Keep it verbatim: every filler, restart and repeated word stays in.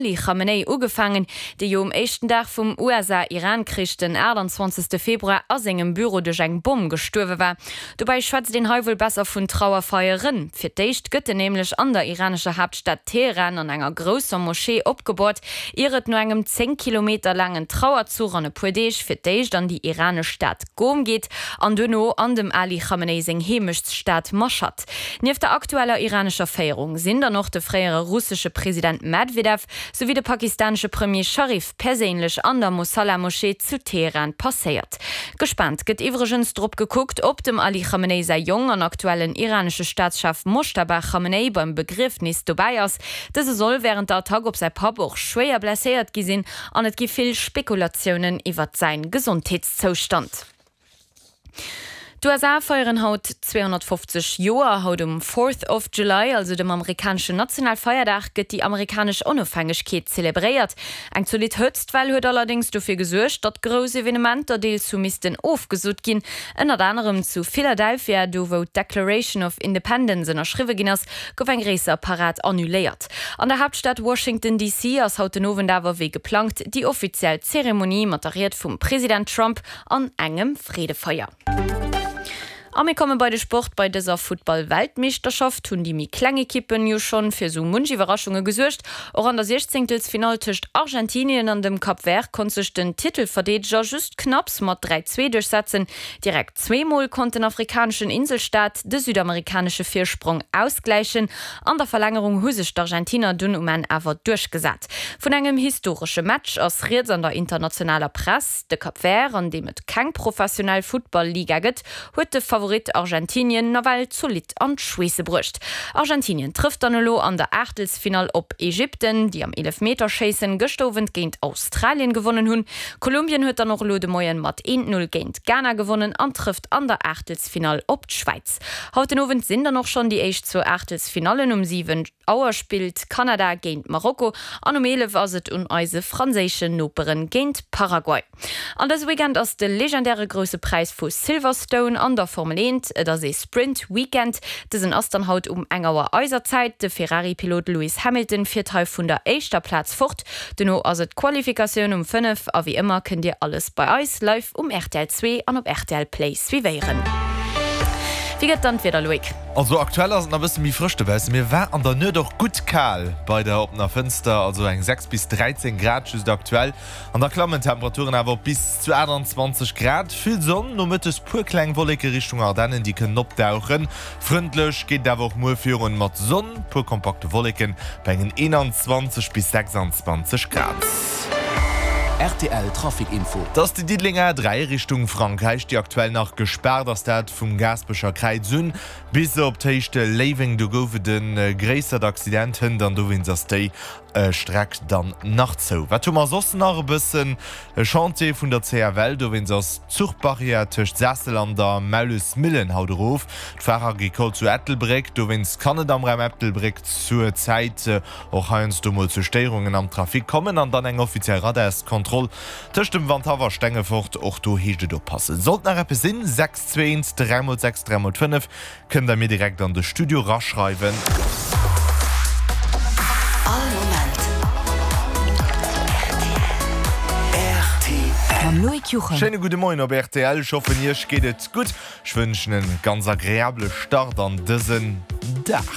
Ali Khamenei ugefaangen, dee jo um éischten Dag vum USA-Iran-Krich, den aachtanzwanzegste Februar, a sengem Büro duerch eng Bomm gestuerwe war. Dobäi schwätzt een hei wuel besser vun Trauerfeieren. Fir d'éischt gëtt en nämlech an der iranescher Haaptstad Teheran an enger grousser Moschee opgeboort, ier et no engem zéng Kilometer laangen Trauerzuch an e puer Deeg fir d'éischt an déi iranesch Stad Ghom geet an duerno an dem Ali Khamenei seng Heemechtsstad Mashhad. Nieft der aktueller iranescher Féierung sinn dann och de fréiere russesche President Medwedew souwéi de pakistanesche Premier Sharif perséinlech an der Mosalla-Moschee zu Teheran passéiert. Gespaant gëtt iwwregens drop gekuckt, ob dem Ali Khamenei säi Jong an aktuellen iranesche Staatschef Moschtaba Khamenei beim Begriefnis dobäi ass. Dëse soll wärend der Attack op säi Papp och schwéier blesséiert gi sinn an et gi vill Spekulatiounen iwwert säi Gesondheetszoustand. D'USA feieren haut zweehonnertfofzeg Joer. Haut um Fourth of July, also dem amerikaneschen Nationalfeierdag, gëtt déi amerikanesch Onofhängegkeet zelebréiert. Eng zolidd Hëtztwell huet allerdéngs dofir gesuergt, datt grouss Evenementer deels hu missten ofgesot ginn. Ënnert anerem zu Philadelphia, do wou d'Declaration of Independence ënnerschriwwe ginn ass, gouf eng gréisser Parad annuléiert. An der Haaptstad Washington D C ass haut den Owend awer wéi geplangt déi offiziell Zeremonie mat der Ried vum President Trump an engem Freedefeier. A mir komme bei de Sport. Bei dëser Futtball-Weltmeeschterschaft hunn déi méi kleng Ekippen jo schonn fir sou munch Iwwerraschunge gesuergt. Och an der Siechzéngtelsfinall tëscht Argentinien an dem Cap Vert konnt sech den Titelverdeedeger just knapps mat dräi, zwee duerchsetzen. Direkt zwee Mol konnt den afrikaneschen Inselstaat de südamerikanesche Virsprong ausgläichen. An der Verlängerung hu sech d'Argentiner dunn um Enn awer duerchgesat. Vun engem historesche Match ass rieds an der internationaler Press. De Cap Vert, an deem et keng professionell Futtball-Liga gëtt, huet de Favorit Argentinien nawell zolidd an d'Schweesse bruecht. Argentinien trëfft dann elo an der Aachtelsfinall op Ägypten, déi am Eelefmeterschéissen gëschter Owend géint Australien gewonnen hunn. Kolumbien huet dann och elo de Moien mat eent, Null géint Ghana gewonnen an trëfft an der Aachtelsfinall op d'Schwäiz. Haut den Owend sinn dann och schonn déi éischt zwou Aachtelsfinallen. Um siwen Auer spillt Kanada géint Marokko an um eelef ass et un eise franséischen Noperen géint Paraguay. An dëse Weekend ass de legendäre Grousse Präis vu Silverstone an der Formel eent. Et ass ee Sprint Weekend. Dësen ass dann haut um eng Auer eiser Zäit. De Ferrari-Pilot Lewis Hamilton fiert hei vun der éischter Plaz fort. Dono ass et d'Qualifikatioun um fënnef a wéi ëmmer kënnt dir alles bei eis live um rtl zwee an op rtl Play suivéieren. Wéi gëtt dann d'Wieder, Loïc? Also aktuell ass et nach e bësse méi frësch dobaussen, mee war an der Nuet och gutt kal bei der oppener Fënster, also eng sechs bis dräizéng Grad just aktuell. An da klammen d'Temperaturen awer op bis zu aachtanzwanzeg Grad. Vill Sonn, nomëttes puer kleng Wolleke Richtung Ardennen, déi kënnen opdauchen. Frëndlech geet et awer och muer virun, mat Sonn, puer kompakte Wolleken bei engen eenanzwanzeg bis sechsanzwanzeg Grad. Rtl Trafic Info. Et ass déi Diddelenger A dräi Richtung Frankräich, déi aktuell nach gespaart ass, dat vum Gaasperecher Kräiz un bis op d'Héicht Léiweng. Do gouf et e gréissert Accident hënt an dowéinst ass déi Streck dann nach zou. Wat hu mer soss nach? E bëssen e Chantier vun der C F L, dowéinst ass d'Zuchbarrière tëscht Sassel an der Maulesmillen haut erof. D'Foire Agricole zu Ettelbréck, dowéinst kann et am Raum Ettelbréck zur Zäit och heiansdo mol zu Stéierungen am Trafic kommen. An dann eng offiziell Radarskontroll tëscht dem Wandhaff a Stengefort, och do heescht et oppassen. Sollt nach eppes sinn, sechs zwee eent dräi mol sechs dräi mol fënnef kënnt der mir direkt an de Studio raschreiwen. All Moment R T L. Mam Loïc Juchem. Schéine gudde Moien op rtl, ech hoffen iech geet et gutt. Ech wënschen en ganz agreabele Start an dësen Dag.